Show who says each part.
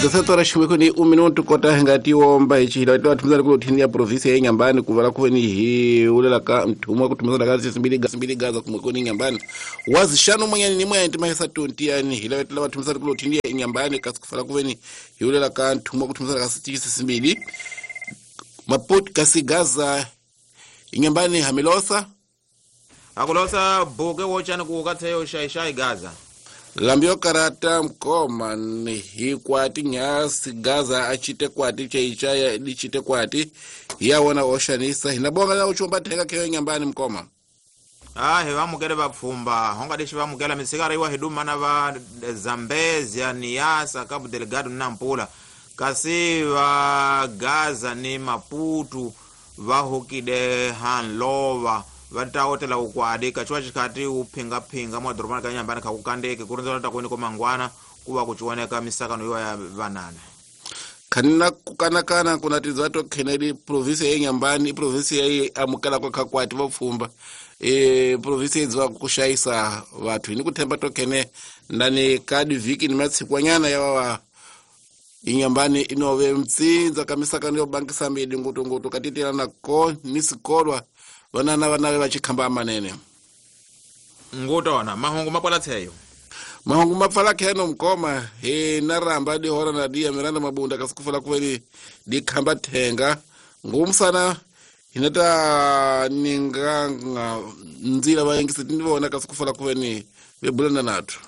Speaker 1: 17 horas ximwekweni 1 minuto kota hi nga tiomba hi xihila twa thumizana ku thini ya province ya Inhambane ku vala kuveni hi ulela ka mthuma ku thumizana ka sisimbili simbili gaza kumwekweni Inhambane wazi xano mwenyani ni mwenyani timahisa 20 yani hi lava lava thumizana ku thini ya Inhambane kasi ku fala kuveni hi ulela ka mthuma ku thumizana ka sisimbili Maputo kasi Gaza Inhambane hamilosa
Speaker 2: Akulosa buke wochani ku katheyo shaishai Gaza.
Speaker 1: Lambio karata mkoma ni hikwati nyasi Gaza achite kwati chaichaya lichite kwati yawona oshanisa hinabonga na uchumba thenga keyo Inhambane mkoma.
Speaker 2: Ah, he vamukele vapfumba honga lexi vamukela misikara iwa hiduma na va Zambezia, Niassa, Cabo Delgado na Nampula kasi va Gaza ni Maputo va hukile hanlova va ta otela ukwadi kachiwa xikhati wu phingaphinga madorobani ka Inhambane kha ku kandeke ku rindzela ta kweni ko mangwana ku va ku ciwaneka misakano yo ya vanana.
Speaker 1: Khanina ku kanakana kuna tidzato kheneli province ya Inhambane i province ya amukelaka kha kwati vapfumba province yedziwa ku xayisa vathu ni ku themba to khene ndani ka divhiki ni matsikwanyana ya va Inhambane inove mtsindza ka misakano yo bangisa midi ngutungutu katitelana ko ni sikolwa vanana vanave va chikhamba manene.
Speaker 2: Ngutona mahungu mapwala tsheyo.
Speaker 1: Mahungu mapfala kheno mkoma he na ramba di hora na dia miranda mabunda kasikufala kuveni di khamba thenga ngumsana hinata ninganga nzila vayengisi tinivona kasikufala kuveni vebulana nathu.